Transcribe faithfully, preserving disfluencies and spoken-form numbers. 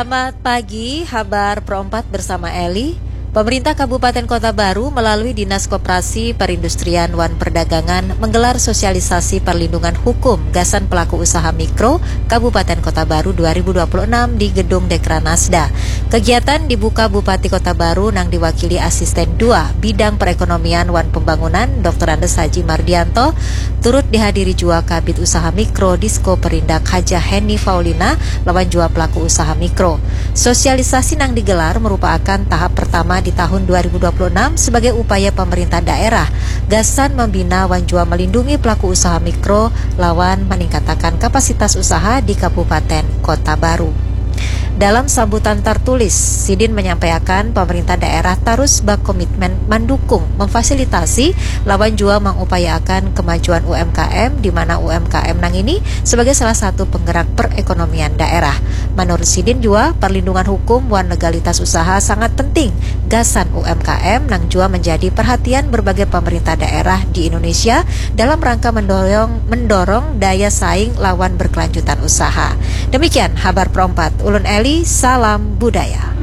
Selamat pagi, habar Pro empat bersama Eli. Pemerintah Kabupaten Kota Baru melalui Dinas Koperasi, Perindustrian, wan Perdagangan menggelar sosialisasi perlindungan hukum gasan pelaku usaha mikro Kabupaten Kota Baru dua ribu dua puluh enam di Gedung Dekranasda. Kegiatan dibuka Bupati Kota Baru nang diwakili Asisten dua Bidang Perekonomian wan Pembangunan, Doktor Andes Haji Mardianto, turut dihadiri jua Kabid Usaha Mikro Disko Perindak Hajah Heni Faulina lawan jua pelaku usaha mikro. Sosialisasi nang digelar merupakan tahap pertama di tahun dua ribu dua puluh enam sebagai upaya pemerintah daerah gasan membina wan jua melindungi pelaku usaha mikro lawan meningkatakan kapasitas usaha di Kabupaten Kota Baru. Dalam sambutan tertulis, Sidin menyampaikan pemerintah daerah tarus berkomitmen mendukung, memfasilitasi, lawan jua mengupayaakan kemajuan U M K M, di mana U M K M nang ini sebagai salah satu penggerak perekonomian daerah. Menurut Sidin jua, perlindungan hukum wan legalitas usaha sangat penting gasan U M K M nang jua menjadi perhatian berbagai pemerintah daerah di Indonesia dalam rangka mendorong mendorong daya saing lawan berkelanjutan usaha. Demikian habar Pro empat. Ulun Eli, salam budaya.